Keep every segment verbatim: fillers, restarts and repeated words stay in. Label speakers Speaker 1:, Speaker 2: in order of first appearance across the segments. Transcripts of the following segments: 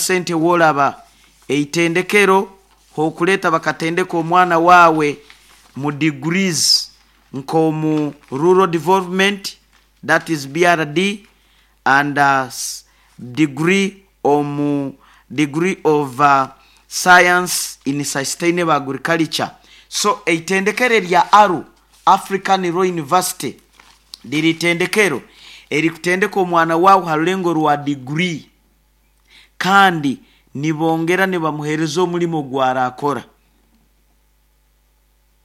Speaker 1: Sente wolaba eitendekero hokuleta bakatendeka omwana wawe mu degrees nk'omu rural development, that is B R D, and uh, degree omu degree of uh, science in sustainable agriculture. So eitendekero erya ALU, African Law University, liri itendekero erikutendeka omwana wawe ha rulengo rwa degree, kandi nibongera nibamuhereza omulimo gwarakora.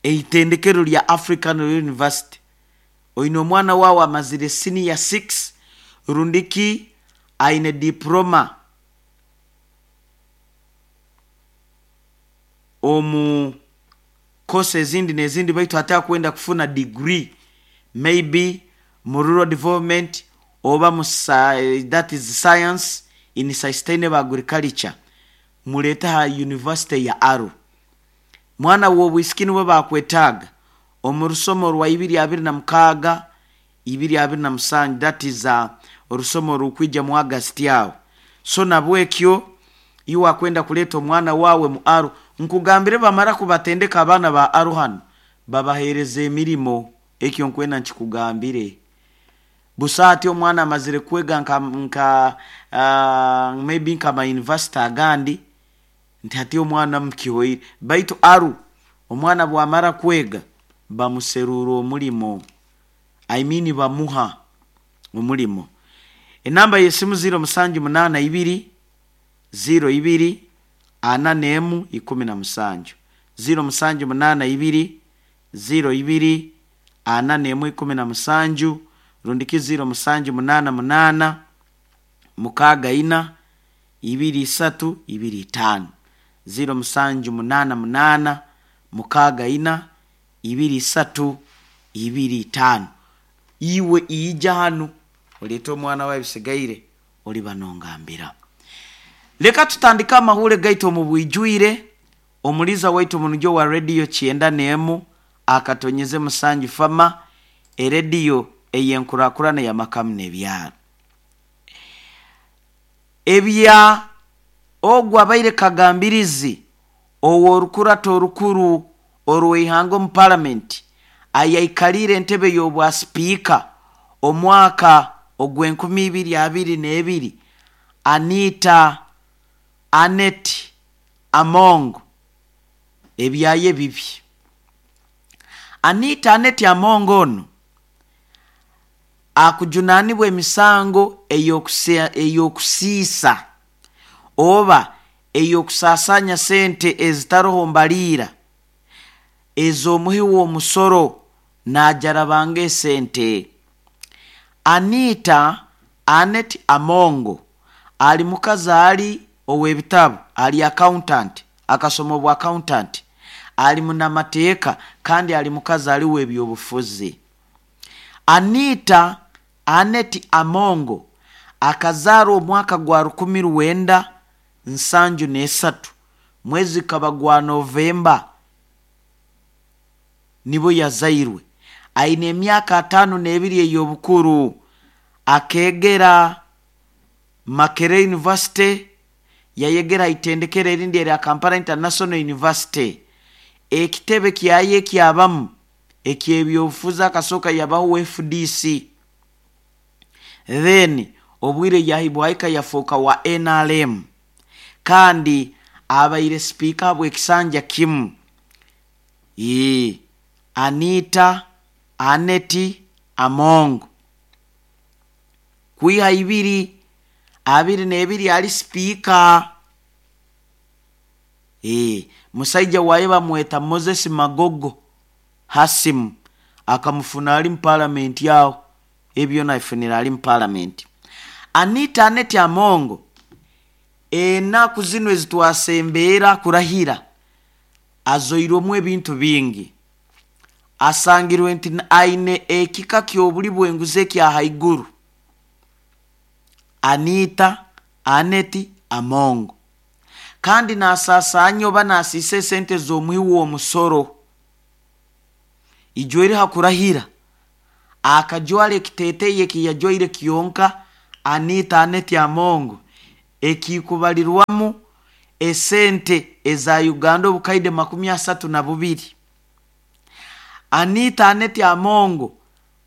Speaker 1: Eitendekero lya African Law University, oine omwana wawe amazire senior six rundiki aine diploma omu course ezindi nezindi, baitu hati akwenda kufuna degree maybe mu rural development oba mu that is science in sustainable agriculture, mulete ha university ya ALU. Mwana w'obwisiki niwe bakwetaaga omu rusomo rwa ibiri abiri na mukaaga ibiri abiri na musanju, that is uh, orusomo rukwija mu August awo. So nabwekyo iwe akwenda kuleta omwana wawe mu ALU, nkugambire, bamara kubatendeka abaana ba ALU hano, babahereza emirimo. Ekyo nkwenda nkikugambire busa. Ati omwana amazire kwega nka, nka uh, maybe nka ma university agandi, nti hati omwana mukihoire, baitu ALU omwana bwamara kwega bamuserura omulimo, I mean bamuha omulimo. Enamba yesimu zero musanju munana ibiri zero ibiri ana nemu ikumi na musanju, zero musanju munana ibiri zero ibiri ana nemu ikumi na musanju, rundiki zero musanju munana munana mukaaga ina ibiri isatu ibiri itaano, zero musanju munana munana mukaaga ina ibiri isatu ibiri itaano. Iwe ija hanu oleete omwana wawe, bisigaire oli banongambira. Leka tutandike amahule gaitu omu bwijwire. Omuliza waitu omunujo wa rediyo kyenda n'emu akatonyeze musanju fama, erediyo eyenkurakurana yamakamu n'ebyaro. Ebya ogwo abaire kagambirizi ow'orukurato orukuru orw'eihanga omu palamenti, ayaikalire entebe y'obwa sipiika omwaka ogw'enkumi ibiri abiri n'ebiri, Anita Anet Among, ebyaye bibi. Anita Anet Among ono akujunanibwa emisango ey'okusiisa oba ey'okusaasanya sente ezitaroho mbaliira ez'omuhi w'omusoro, najarabanga esente. Anita Anet Amongo ali mukazi ali ow'ebitabu, ali accountant, akasoma obwa accountant, ali munamateeka, kandi ali mukazi ali w'ebyobufuzi. Anita Anet Amongo akazaarwa omwaka gwa rukumi rwenda nsanju n'esatu, mwezi kaba gwa Novemba nibo yazairwe. Aine emyaka ataano n'ebiri ey'obukuru. Akegera Makerere University, yayegera itendekero erindi erya Kampala International University. Ekitebe kyaye ekyabamu ekyebyobufuzi akasooka yabaho F D C, then obwire yahibwahika yafuuka wa N R M, kandi abaire sipiika bwekisanja kimu. Ee, Anita Aneti Among kwiha ibiri abiri n'ebiri ali sipiika. Ee, musaija waye bamweta Moses Magogo Hasimu, akamufuna ali mu palamenti awo, ebyo nabifunira ali mu palamenti. Anita Aneti Amongo enaku zino ezitwasembeera kurahira azoirwemu ebintu bingi. Asangirwe nti aine ekika ky'obuli bwenguzi ekya haiguru. Anita Aneti Amongo kandi nasaasaanya oba nasiisa esente z'omuhi w'omusoro. Ijweri hakurahira akajwara ekiteeteeyi ekiyajwaire kyonka Anita Aneti Amongo. Ekikubalirwamu esente eza Uganda obukaide makumi asatu na bubiri. Anita Aneti Amongo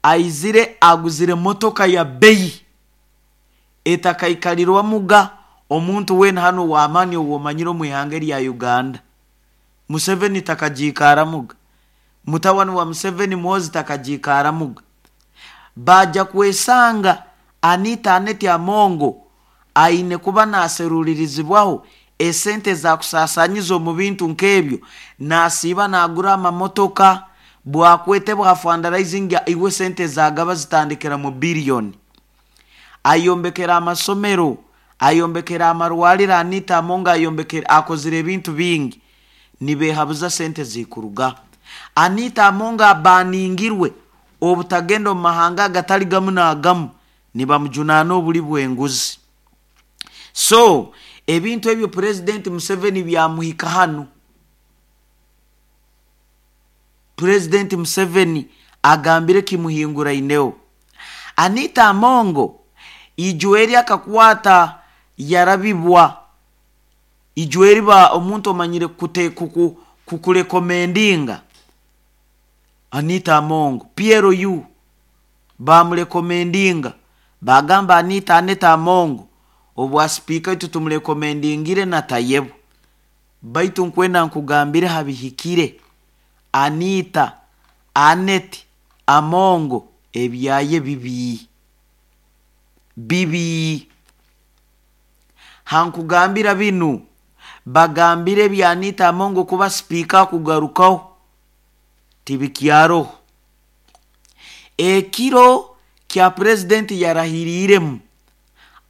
Speaker 1: aizire aguzire motoka ya beyi etakaikalirwamuga omuntu weena hano w'amaani ow'omanyire omu ihanga lya Uganda. Museveni takagiikaramuga, mutabani wa Museveni Muhoozi takagiikaramuga. Baja kwesanga Anita Aneti Amongo aine kuba naserulirizibwaho esente zakusaasanyiza omu bintu nk'ebyo, nasiiba nagura amamotoka bwakwete bwa fundraising, iwe sente zagaba zitandikira mu biliyoni. Ayombekera amasomero, ayombekera amarwaliro. Anita Amongo ayombekera, akozire ebintu bingi, nibehabuza sente zikuruga. Anita Amongo abaningirwe obutagenda omu mahanga agatali gamu n'agamu, nibamujunaana obuli bw'enguzi. So ebintu ebyo Purezidenti Museveni byamuhika hanu. Purezidenti Museveni agambire kimuhinguraineho. Anita Amongo ijweri akakwata yarabibwa ijweri ba omuntu omanyire kute kuku kukurekomendinga Anita Amongo P L U bamurekomendinga, bagamba Anita Aneta Amongo obwa sipiika itu tumurekomendingire na Tayebwa. Baitu nkwenda nkugambire habihikire, Anita Anet Amongo ebyaye bibi bibi. Hankugambira binu, bagambire ebya Anita Amongo kuba sipiika kugarukaho tibikyaroho. Ekiro kya purezidenti yarahiriiremu,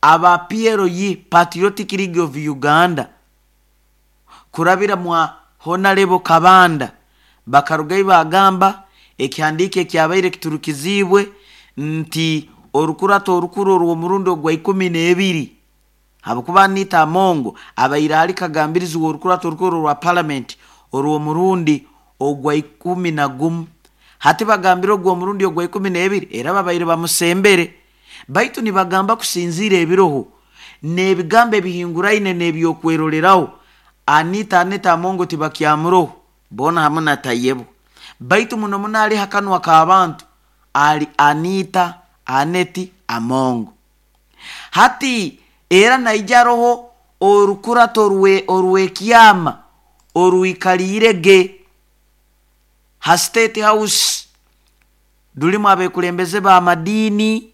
Speaker 1: aba P L U, Patriotic League of Uganda, kurabira mwa Honorable Kabanda, bakarugayo bagamba ekihandiiko ekyabaire kiturukiziibwe nti orukurato orukuru orw'omurundi ogwa ikumi n'ebiri, habwokuba Anita Amongo abaire ali kagambirizi w'orukurato orukuru orwa palamenti orw'omurundi ogwa ikumi na gumu. Hati bagambire ogwo omurundi ogwa ikumi n'ebiri era babaire bamusembere, baitu nibagamba kusinziira ebiroho n'ebigambo ebihinguraine n'ebyokweroreraho, Anita Aneta Amongo tibakyamuroho boona hamu na Tayebwa. Baitu muno muno ali hakanwa k'abantu ali Anita Aneti Amongo. Hati era naija aroho orukurato orwe orw'ekyama orwikaliire ge ha State House, rulimu abekulembeze b'amadiini,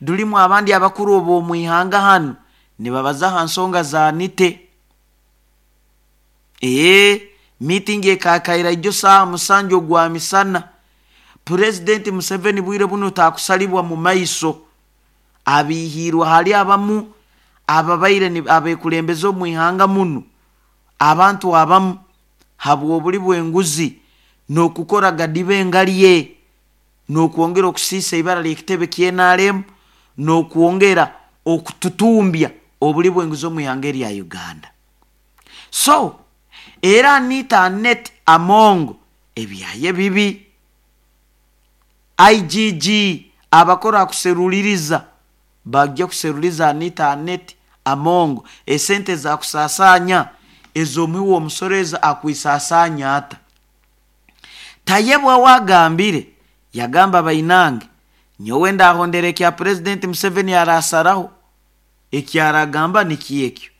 Speaker 1: rulimu abandi abakuru ob'omu ihanga hanu, nibabaza ha nsonga za Anite. Ee meeting ekakaira ijo saaha musanju ogwa misana. Purezidenti Museveni bwire buno takusalibwa mu maiso, abihiirwe hali abamu ababaire abekulembeze omu ihanga muno, abantu abamu habw'obuli bw'enguzi n'okukora gadiba engalye n'okwongera okusiisa ibara ly'ekitebe K N R M n'okwongera okututumbya obuli bw'enguzi omu ihanga erya Uganda. So era Anita Anet Amongo ebyaye bibi. I G G abakora kuseruliriza bajja kuseruliza Anita Anet Amongo esente zakusasanya ez'omuwi w'omusoro ezo akwisasanya ata. Tayebwa wagambire, yagamba, "Bainange, nyowe ndahondera ekya Purezidenti Museveni arasaraho, ekyaragamba nikyekyo."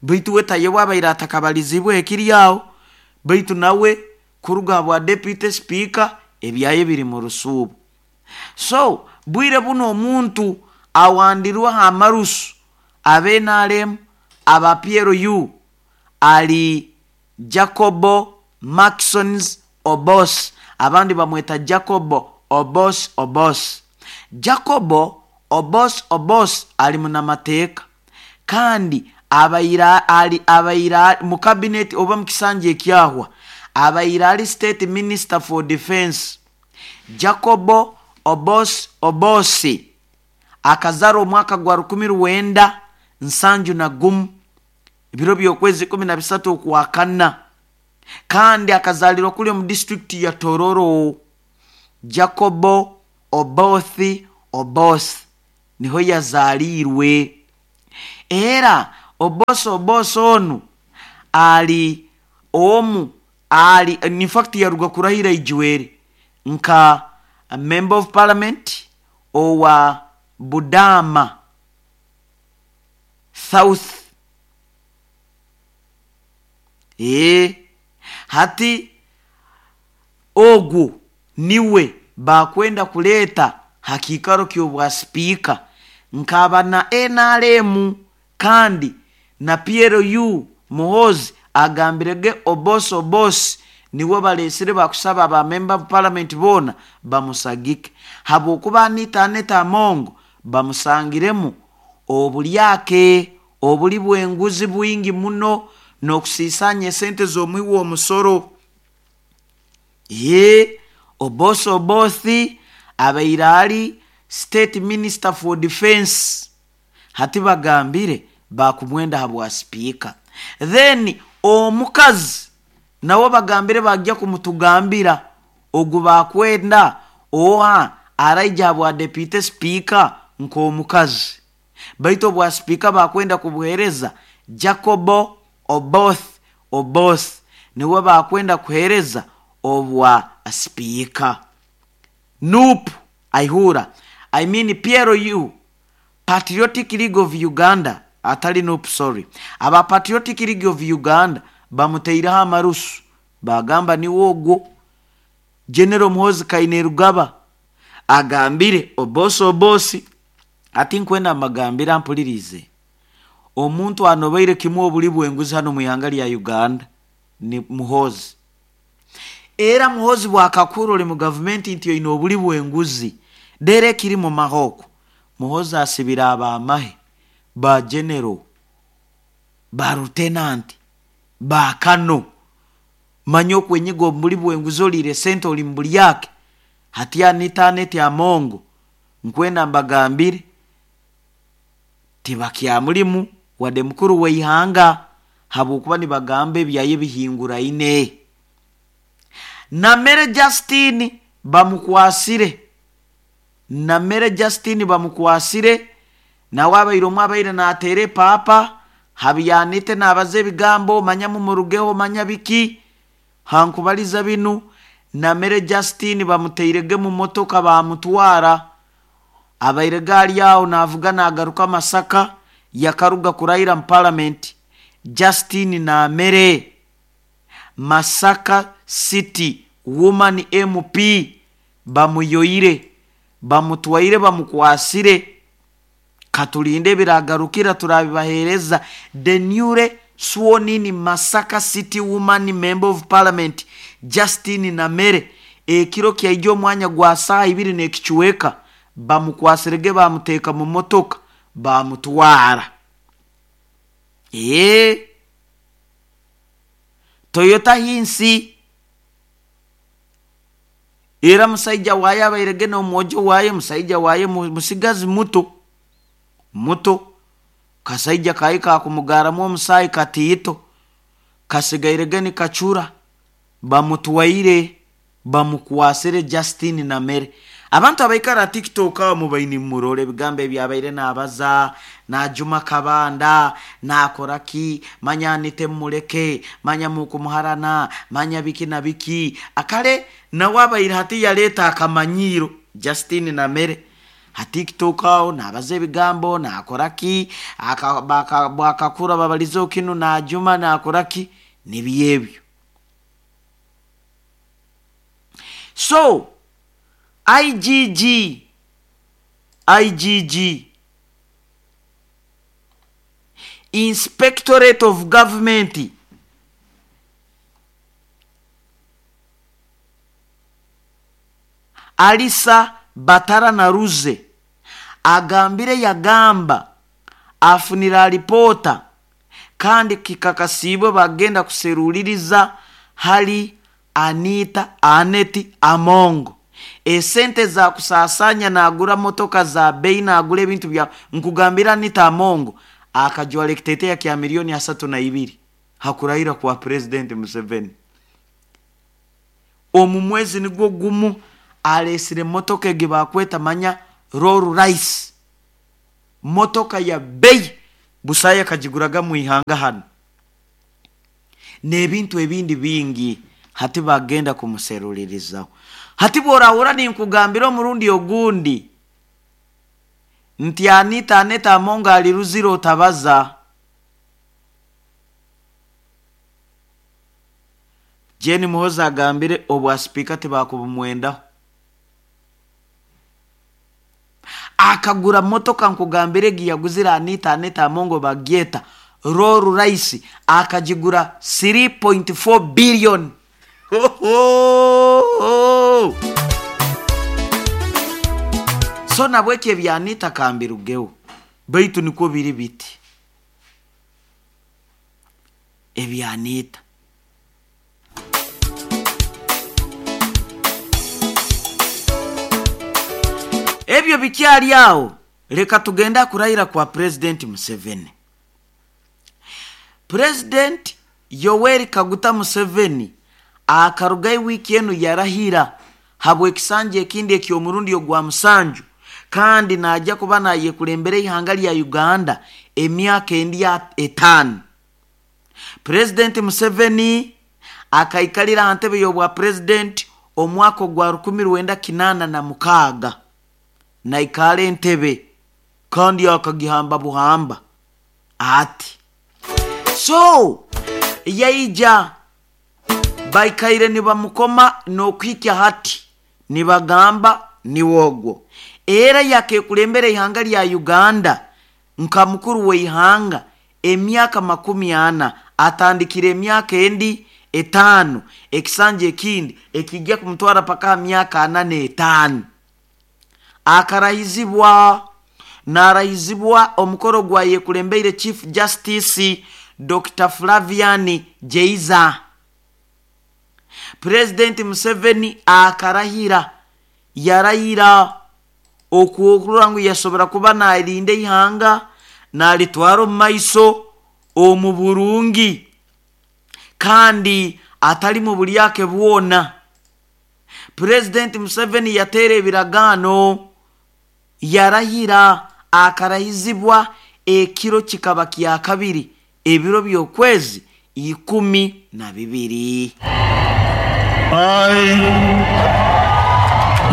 Speaker 1: Baitu we Tayebwa abaire atakabalizibwe ekiri aho, baitu nawe kuruga bwa deputy speaker ebyaye biri mu rusuubo. So bwire buno omuntu awandirweho amarusu aba N R M, aba P L U, ali Jacobo Maxons Obos, abandi bamweta Jacobo Obos Obos. Jacobo Obos Obos ali munamateeka kandi abaire ali abaire mu cabinet oba mu kisanja ekyahwa abaire ali state minister for defense. Jacobo Obos Obosi akazara omwaka gwa rukumi rwenda nsanju na gumu, ebiro by'okwezi kumi na bisatu okwakana, kandi akazalirwa kuli omu disitulikiti ya Tororo. Jacobo Obothi Oboth niho yazaliirwe. Era Oboth Oboth onu ali omu ali in fact yaruga kurahira ijwere nka member of parliament owa Budama South. E hati ogu niwe bakwenda kuleta hakikaro ky'obwa sipiika nkaba na N R M, kandi na P L U Muhoozi agambirege Oboth Oboth niwe balesire bakusaba ba member of parliament bona bamusagike, habwokuba Anita Annet Among bamusangiremu obulyake obuli bw'enguzi bwingi muno n'okusiisanya esente z'omuwi w'omusoro. Ye Oboth Oboth abaire ali state minister for defense, hati bagambire bakumwenda habwa sipiika. Then omukazi nawe bagambire bajja kumutugambira ogu bakwenda oha araija habwa deputy speaker nk'omukazi, baitu obwa sipiika bakwenda kubuhereza Jacobo Oboth Oboth niwe bakwenda kuhereza obwa sipiika. N U P aihura, I mean P L U, Patriotic League of Uganda, atali N U P, sorry, aba Patriotic League of Uganda bamuteireho amarusu bagamba niwe ogwo. General Muhoozi Kainerugaba agambire Oboth Oboth ati nkwenda amagambira mpulirize, omuntu anobaire kimwe obuli bw'enguzi hano mu ihanga lya Uganda ni Muhoozi. Era Muhoozi bwakakura oli mu gavumenti nti oine obuli bw'enguzi dere kiri mu mahoko. Muhoozi asibira abamahe ba general ba lieutenant ba kano, manya okwenyiga obuli bw'enguzi olire sente oli mu bulyake. Hati Anita Annet Among nkwenda mbagambire tibakyamulimu wadde mukuru w'eihanga, habwokuba nibagamba ebyaye bihinguraine. Namere Justine bamukwasire, Namere Justine bamukwasire nawe abaire omwe abaire nateere paapa habyanite nabaza ebigambo manya mumurugeho manya biki hankubaliza binu. Namere Justine bamuteirege mu motoka bamutwara, abaire gaali aho navuga nagaruka Masaka yakaruga kurahira mu parliament. Justine Namere Masaka City Woman M P bamuyoire bamutwaire bamukwasire. Katulinde biragarukira turabibahereza. The newly sworn in Masaka City Woman Member of Parliament Justine Namere ekiro kyaijo omwanya gwa saa ibiri n'ekichweka bamukwasirege bamuteeka mu motoka bamutwara. Eh, Toyota Hinsi era musaija waye abairege n'omwojo waye, musaija waye musigazi muto muto, kasaija kayi kakumugaramu omusaayi katiito kasigairege ni kacura, bamutwaire bamukwasire Justine Namere. Abantu abaikara TikTok aho mubaini murore ebigambo ebyabaire nabaza najuma kabanda nakora ki manya nite muleke manya mukumuharana manya biki na biki akale nawe abaire hati yaleta akamanyiro Justine Namere ha TikTok aho nabaza ebigambo nakora ki akakura babalizo kinu najuma nakora ki nibyebyo. So I G G I G G Inspectorate of Government Alisa Batara Naruze agambire yagamba afunira ripota kandi kikakasibwe bagenda kuseruliriza hali Anita Annet Among esente za kusasanya nagura motoka za bei nagura ebintu bya nkugambira Anita Among akajwale kiteteya kya milioni asatu na ibiri hakurahira kwa President Museveni. Omu mwezi nigwo gumu alesire motoka ege bakweta manya Rolls Royce, motoka ya bei Busaaya akagiguraga mu ihanga hano n'ebintu ebindi bingi. Hati bagenda kumuserulirizaho. Hati bworahura ninkugambira omurundi ogundi nti Anita Aneta Among ali Ruzira otabaza. Jane Muhoza agambire obwa sipiika tibakubumwendaho. Akagura motoka nkugambire egi yaguzire Anita Aneta Among bagyeta Rolls Royce, akagigura three point four billion. Ho, ho, ho. So nabweki ebya Anita kambirugeho, baitu nikwo biri biti ebya Anita. Ebyo bikyali awo, leka tugenda kurayira kwa President Museveni. President Yoweri Kaguta Museveni akarugayo wiki enu yarahira habw'ekisanja ekindi eky'omurundi ogwa musanju, kandi najja kuba nayekulembera ihanga lya Uganda emyaka endi etaano. President Museveni akaikalira aha ntebe y'obwa president omwaka ogwa rukumi rwenda kinaana na mukaaga, naikara entebe kandi akagihamba buhamba ati. So yaija baikaire nibamukoma n'okuhikya hati nibagamba niwogwo. Era yakekulembera ihanga lya Uganda nka mukuru w'ihanga emyaka makumi ana, atandikire emyaka endi etaano, ekisanja ekindi ekijja kumutwara paka myaka ana n'etaano. Akarahizibwa narahizibwa omukoro gwa yekulembeire Chief Justice Doctor Flavian Jeiza. President Museveni akarahira, yarahira okuokurora ngu yasobora kuba narinda ihanga nalitwara omu maiso omu burungi kandi atali mu bulyake bwona. President Museveni yateera ebiragaano, yarahira, akarahizibwa ekiro kikaba kya kabiri ebiro by'okwezi ikumi na bibiri.
Speaker 2: I,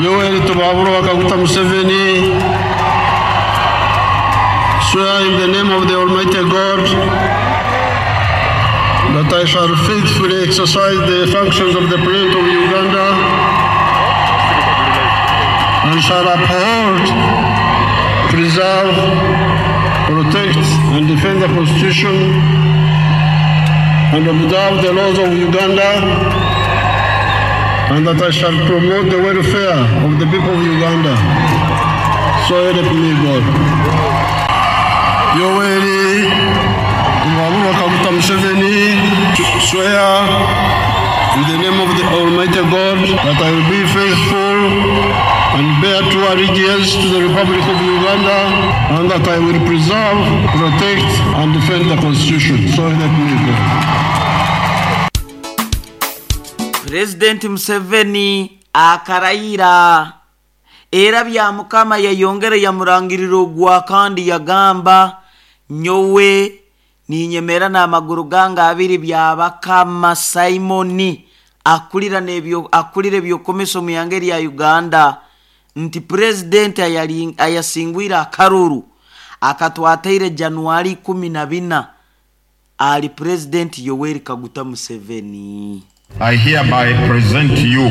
Speaker 2: Yoweri Tibuhaburwa Kaguta Museveni, swear in the name of the Almighty God that I shall faithfully exercise the functions of the President of Uganda and shall uphold, preserve, protect, and defend the Constitution and observe the laws of Uganda, and that I shall promote the welfare of the people of Uganda. So help me God. Yoweri Tibuhaburwa Kaguta Museveni, swear in the name of the Almighty God that I will be faithful and bear true allegiance to the Republic of Uganda, and that I will preserve, protect, and defend the Constitution. So help me God.
Speaker 1: President Museveni akarayira era bya Mukama yayongera yamurangirira ogwa kandi yagamba nyowe ninyemera n'amaguru gange abiri byabakama Simoni akulira nebyo akulira ebyokomeso mu yange lya Uganda nti president ayali ayasingwira akaruru akatwateire Januari kumi na bina ali President Yoweri Kaguta Museveni.
Speaker 3: I hereby present to you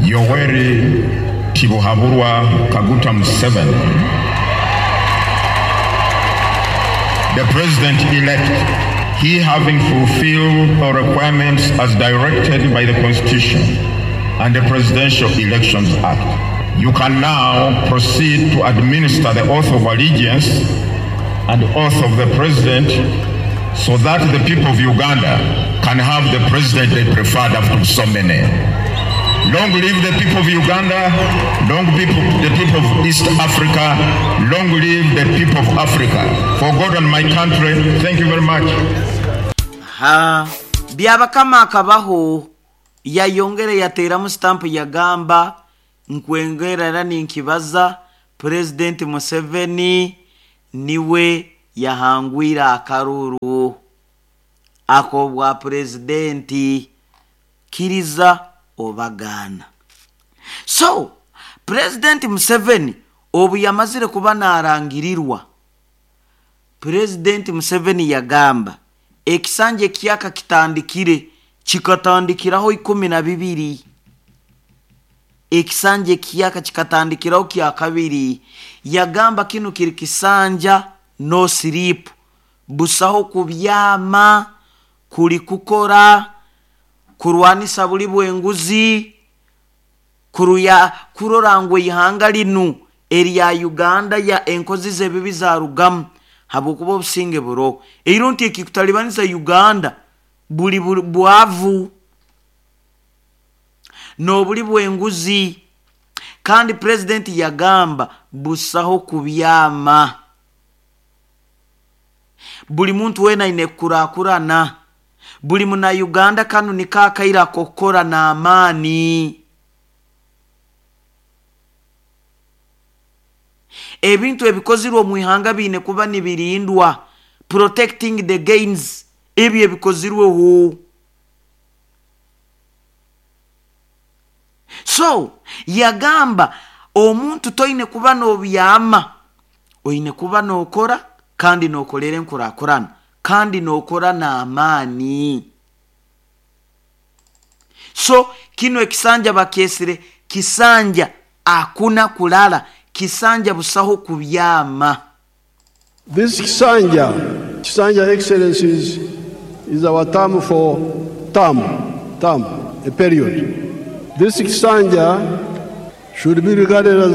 Speaker 3: Yoweri Tibuhaburwa Kaguta Museveni, the president-elect, he having fulfilled all requirements as directed by the Constitution and the Presidential Elections Act. You can now proceed to administer the oath of allegiance and the oath of the president so that the people of Uganda can have the president they preferred after so many. Long live the people of Uganda, long live the people of East Africa, long live the people of Africa. For God and my country, thank you very much.
Speaker 1: Ha, byabakama akabaho yayongere yateramu stamp yagamba nkwengera era ninkibaza President Museveni niwe Yahangwire akaruru ak'obwa purezidenti, kiriza obagaana. So Purezidenti Museveni obu yamazire kuba narangirirwa, Purezidenti Museveni yagamba ekisanja ekyaka kitandikire, kikatandikiraho ikumi na bibiri. Ekisanja ekiyaka kikatandikiraho kya kabiri. Yagamba kinu kiri kisanja no sleep, busaho kubyama, kuli kukora, kurwanisa buli bwenguzi, kuruya kurora ngu ihanga linu erya Uganda ya enkozi z'ebibi zarugamu, habwokuba obusinge buro eiro nti ekikutalibanisa Uganda buli bwavu n'obuli bwenguzi. Kandi purezidenti yagamba busaho kubyama, buli muntu wena aine kukurakurana, buli muna Uganda kanu niko akaire ak'okukora n'amaani. Ebintu ebikozirwe omu ihanga biine kuba nibirindwa, protecting the gains, ebyo ebikozirweho. So yagamba omuntu toine kuba n'obyama, oine kuba n'okora kandi n'okolera enkurakurana kandi n'okora n'amaani. So kino ekisanja bakyesire kisanja akuna kulala, kisanja busaho kubyama.
Speaker 2: This kisanja, kisanja excellencies, is our term for term, term, a period. This kisanja should be regarded as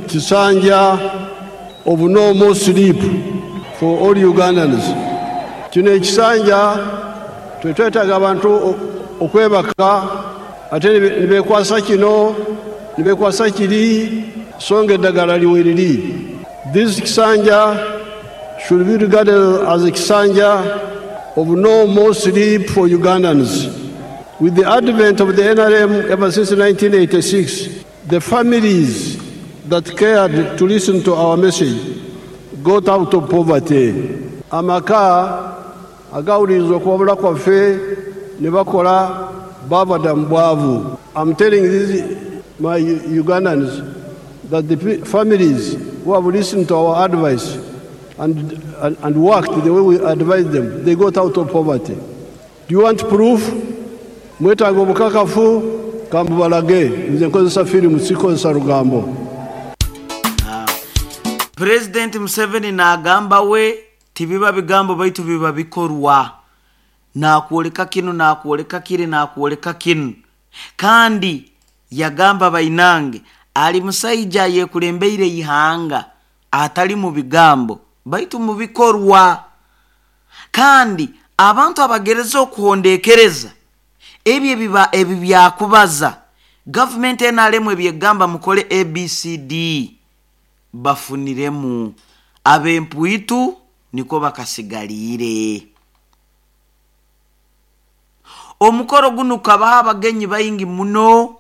Speaker 2: kisanja of no more sleep for all Ugandans. Kino ekisanja twetwetaaga abantu okwebaka ate ne beekwasa kino ne beekwasa kiri, so nga eddagala liwe liri. This kisanja should be regarded as a kisanja of no more sleep for Ugandans. With the advent of the N R M ever since nineteen eighty-six, the families that cared to listen to our message got out of poverty. Amaka agawuliriza okuwabula kwaffe ne bakola bava dda mu bwavu. I'm telling these my Ugandans that the families who have listened to our advice and, and, and worked the way we advised them, they got out of poverty. Do you want proof? Mwetaaga obukakafu, kambubalage. Nze nkozesa firimu, sikozesa lugambo.
Speaker 1: President Museveni n'agamba we tibiba bigambo baitu biba bikorwa. Nakwoleka kinu, nakwoleka kiri, nakwoleka kinu. Kandi yagamba bainange ali musaija yekulembeire ihanga atali mu bigambo baitu mu bikorwa. Kandi abantu abagereza okuhondekereza ebyo biba ebi byakubaza government N R M ebyegamba mukole A B C D bafuniremu abempuitu niko bakasigalire. Omukoro guno kabaha abagenyi baingi muno,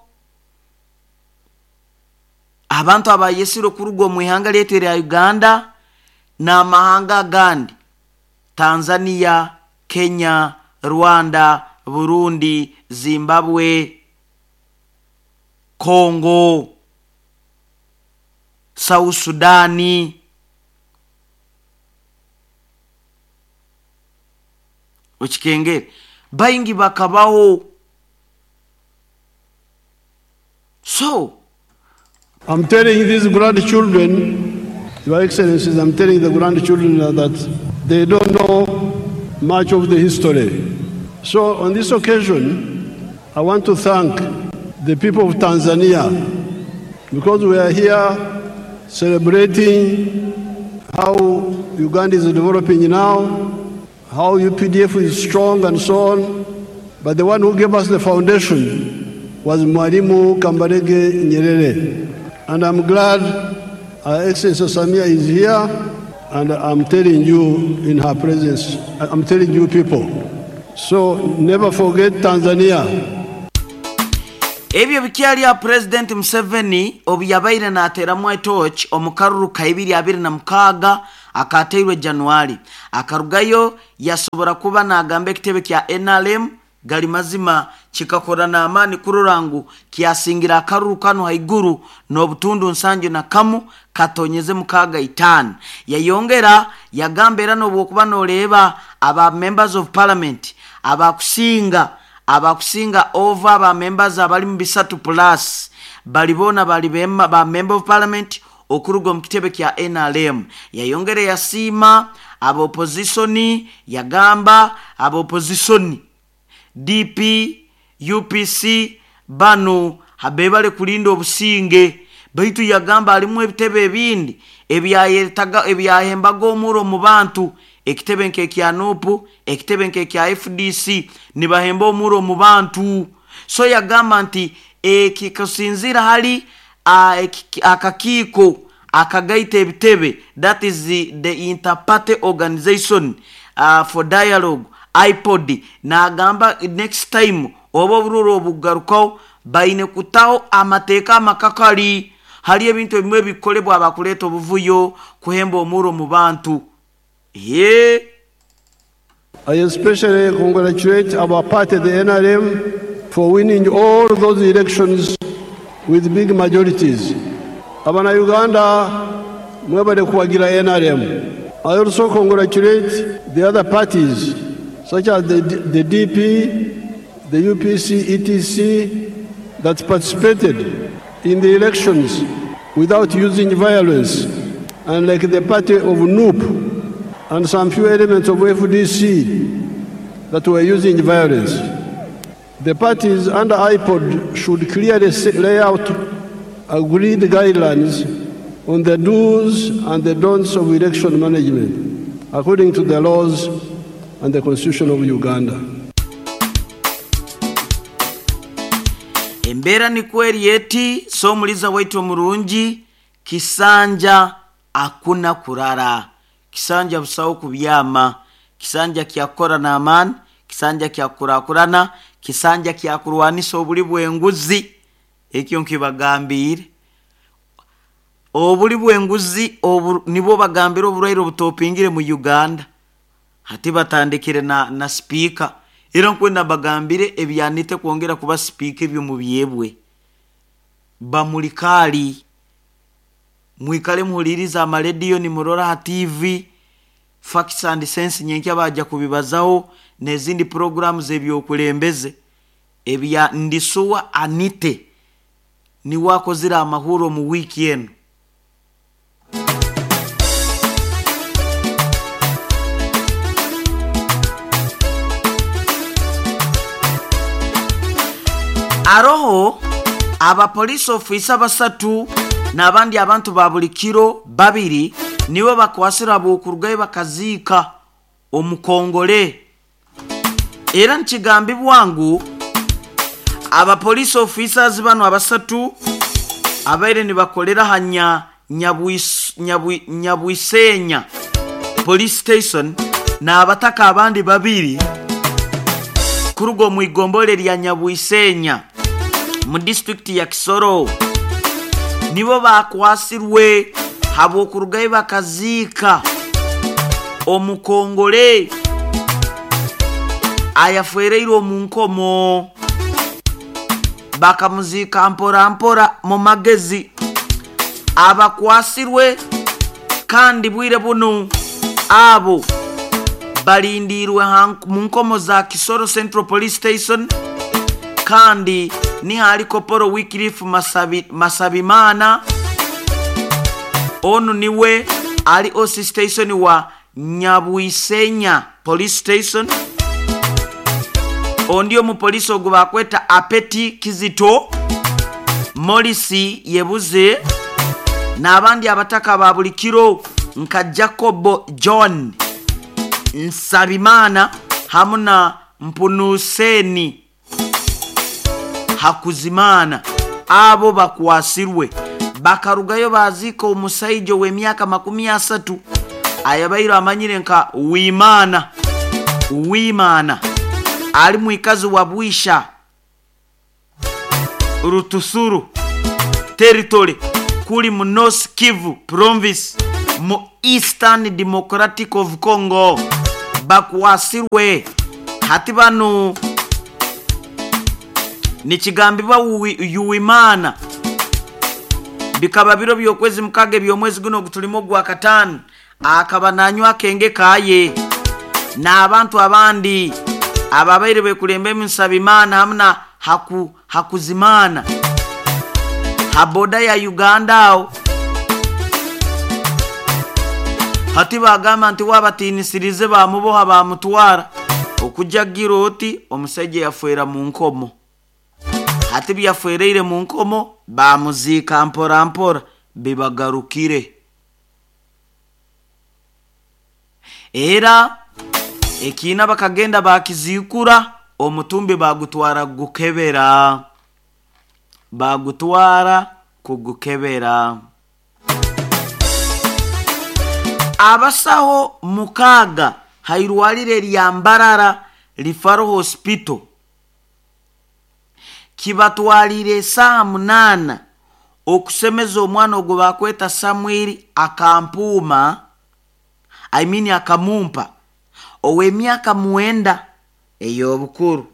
Speaker 1: abantu abayesire okuruga omu ihanga lyetu erya Uganda n'amahanga agandi, Tanzania, Kenya, Rwanda, Burundi, Zimbabwe, Congo, South Sudani. Okikengere baingi bakabaho. So
Speaker 2: I'm telling these grandchildren, Your Excellencies, I'm telling the grandchildren that they don't know much of the history. So on this occasion, I want to thank the people of Tanzania, because we are here celebrating how Uganda is developing now, how U P D F is strong and so on. But the one who gave us the foundation was Mwalimu Kambarage Nyerere. And I'm glad Her Excellency Samia is here, and I'm telling you in her presence, I'm telling you people. So never forget Tanzania.
Speaker 1: Ebyo bikyali ya President Museveni obu yabaire naateramu etochi omu karuru ka ibiri abiri na mukaaga Akateirwe Januari akarugayo yasobora kuba nagamba ekitebe kya N R M gali mazima kikakora n'amaani kurora ngu kyasingira akaruru kano haiguru n'obutundu nsanju na kamu katonyeze mukaaga itaano. Yayongera yagamba era n'obwokuba noreeba aba members of parliament abakusinga abakusinga over aba members abali mu bisatu plus bali boona bali bema, ba member of parliament okuruga mu kitebe kya N R M. Yayongera yasiima aba opposition, yagamba aba opposition D P, U P C bano habebale kulinda obusinge, baitu yagamba alimu ebitebe ebindi ebyayetaga ebyahembaga omuro mu bantu, ekitebe nke kya N U P, ekitebe nke kya F D C nibahemba omuro mu bantu. So yagamba nti ekikasinzira hali akakiiko akagaita ebitebe, that is the, the interparty organization uh, for dialogue I P O D, nagamba next time oba obururu obugarukaho baine kutaho amateeka amakakali hali ebintu ebimwe bikolebwa abakuleeta obuvuyo kuhemba omuro mu bantu. Ye
Speaker 2: I especially congratulate our party, the N R M, for winning all those elections with big majorities. Abana Uganda mwebale kuwagira N R M. I also congratulate the other parties such as the, the D P, the U P C, E T C that participated in the elections without using violence, and like the party of N U P and some few elements of F D C that were using violence. The parties under I P O D should clearly lay out agreed guidelines on the do's and the don'ts of election management according to the laws and the Constitution of Uganda.
Speaker 1: Embera ni kweri eti so muliza waitu omurungi kisanja akuna kurara, kisanja busawo kubyama, kisanja kyakora n'amaani, kisanja kyakurakurana, kisanja kyakurwanisa obuli bw'enguzi. Ekyo nkibagambire obuli bw'enguzi obu nibwo bagambira oburwaire obutopingire mu Uganda. Hati batandikire na, na speaker era nkwenda bagambire ebyanite kwongera kuba speaker ebyo mu byebwe bamulikali mwikale muhuliriza amarediyo ni murora ha T V Facts and Sense nyenkya baja kubibazaho n'ezindi programs ebyokulembeze ebya ndisuwa anite ni wakozira amahuro mu wiki eno. Aroho aba police officer basatu n'abandi abantu ba buli kiro babiri nibo bakwasira bokurugayo bakaziika omukongole. Era nkigambibwa ngu aba police officers bano abasatu abaire nibakolera hanya Nyabwisenya police station n'abataka abandi babiri kurugo mu igombole lya Nyabwisenya mu district ya Kisoro nibo bakwasirwe habwokurugayo bakaziika omukongole ayafereirwe omu nkomo, bakamuziika mpora mpora mu magezi. Abakwasirwe kandi bwire buno abo balindirwe mu nkomo za Kisoro Central Police Station, kandi ni hali Koporo Wycliffe Masabi, Masabimana onu niwe ali O C station wa Nyabwisenya Police Station. Ondio mu polisi ogu bakweta Apeti Kizito Morisi Yebuze n'abandi abataka ba buli kiro nka Jacobo John Nsabimana hamwe na Mpunuseni Hakuzimana. Abo bakwasirwe bakarugayo bazika omusaijo w'emyaka makumi asatu ayabaire amanyire nka Wimana Wimana ali mwikazi wa Bwisha Rutusuru territory kuli mu North Kivu province Mu Eastern Democratic of Congo bakwasirwe. Hati banu nikigambibwa Yuwimana bikaba biro by'okwezi mukaga eby'omwezi guno ogutulimo gwa kataano, akaba nanywa akenge kaye n'abantu abandi ababaire bekulemba Nsabimana hamwe na haku, Hakuzimana ha boda ya Uganda aho. Hati bagamba nti wabatiinisirize bamuboha bamutwara okujagira oti omusajja yafwera mu nkomo. Hati byafwereire mu nkomo bamuziika mpora mpora bibagarukire. Era ekiina bakagenda bakizikura omutumbi bagutwara gukebera, bagutwara kugukebera. Abasaho mukaga hairwalire lya Mbarara Referral Hospital kibatwalire esaha munana okusemeza omwana ogwo bakweta Samuel akampuuma, I mean akamumpa, ow'emyaka mwenda ey'obukuru.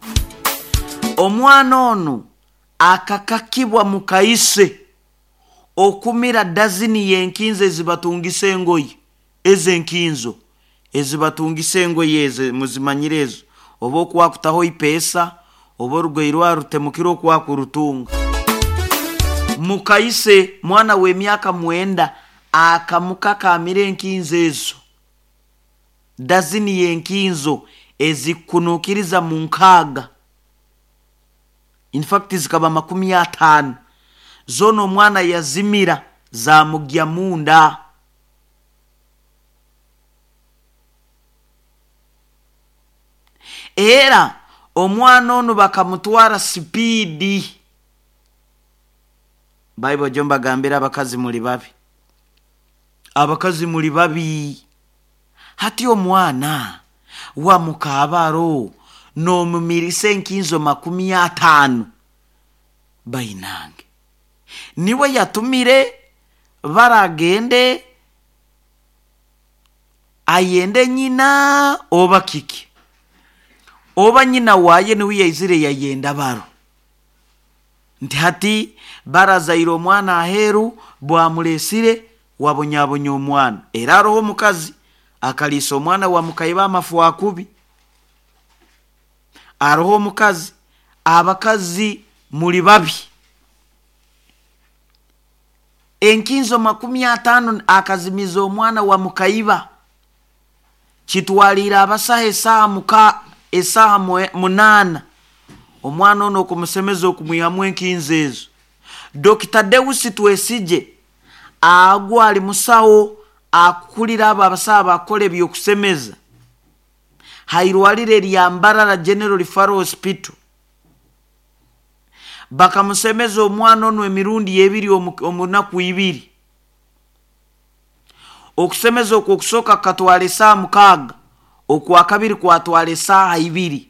Speaker 1: Omwana ono akakakibwa mukaise okumira dazini y'enkinzo ezibatungisa engoye, ezenkinzo ezibatungisa engoye ezo muzimanyire ezo, oba okwakutaho ipeesa oba orugoye rwarutemukire okwakurutunga. Mukaise mwana w'emyaka mwenda akamukakamira enkinzo ezo, dazini y'enkinzo ezikunukiriza mu nkaaga, in fact zikaba makumi ataano, zona omwana yazimira zamugya munda. Era omwana ono bakamutwara sipiidi. Bible jo mbagambira abakazi muli babi, abakazi muli babi. Hati omwana wa mukabaro n'omumirisa enkinzo makumi ataano bainange niwe yatumire baragende ayende nyina oba kiki oba nyina waye niwe yaizire yayenda baro nti hati barazaire omwana aheru bwamulesire wabonyabonya omwana. Era aroho omukazi akalisa omwana wa mukaiba amafu akubi. Aroho omukazi, abakazi muli babi. Enkinzo makumi ataano akazimiza omwana wa mukaiba kitwalira abasaha esaha muka esaha munana omwana ono okumusemeza okumwihamu enkinzo ezo. Dokita Deusi Twesije agwa ali musawo akukulira abo abasaha bakora ebyokusemeza hairwalire lya Mbarara General Referral Hospital bakamusemeza omwana ono emirundi ebiri omunaku ibiri. Okusemeza okwo okusooka katwala esaha mukaaga, okwakabiri kwatwala esaha ibiri.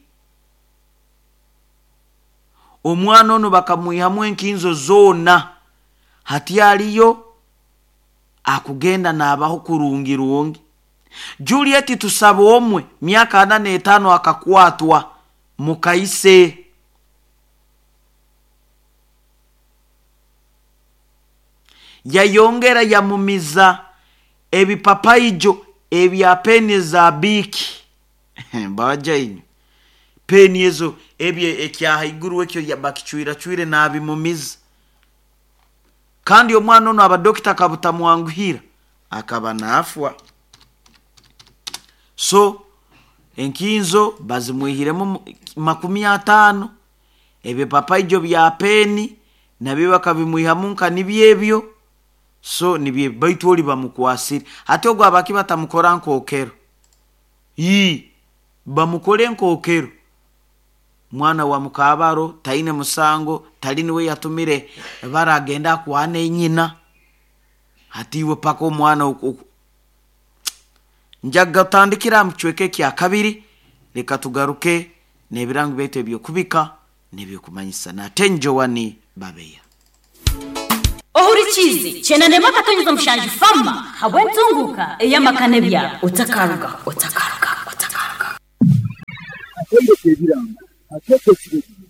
Speaker 1: Omwana ono bakamwihamu enkinzo zona hati aliyo akugenda n'abaho kurungi rungi. Juliet Tusaba omwe myaka ana n'etaano akakwatwa mukaise. Yayongera yamumiza ebipapaijo ebya peni za biki baja inyo peni ezo ebye ekyahaiguru ekyo bakichwira chwire n'abimumiza. Kandi omwana ono abadokita kabutamwanguhira akaba naafwa. So enkinzo bazimwihiremu makumi ataano, ebipapaijo bya peni nabyo bakabimwihamu nka nibyebyo. So nibye baitu oli bamukwasire. Hati ogwo abaki batamukora nkokero yi bamukore nkokero. Mwana wa mukabaro taine musango tali niwe yatumire baragenda kwane nyina hati iwe paka omwana njaga tandikira mucweke kya kabiri. Leka tugaruke n'ebirango byaitu ebyokubika n'ebyokumanyisa. Nate Njowani Babeya.
Speaker 4: Ohurikize. Cheese kyenda n'emwe akatonyeza mushanju fama habw'entunguka ey'amaka n'ebyaro. Otakaruga, otakaruga, otakaruga.
Speaker 5: Atendeka ebiranga, ateeka ekiragiro.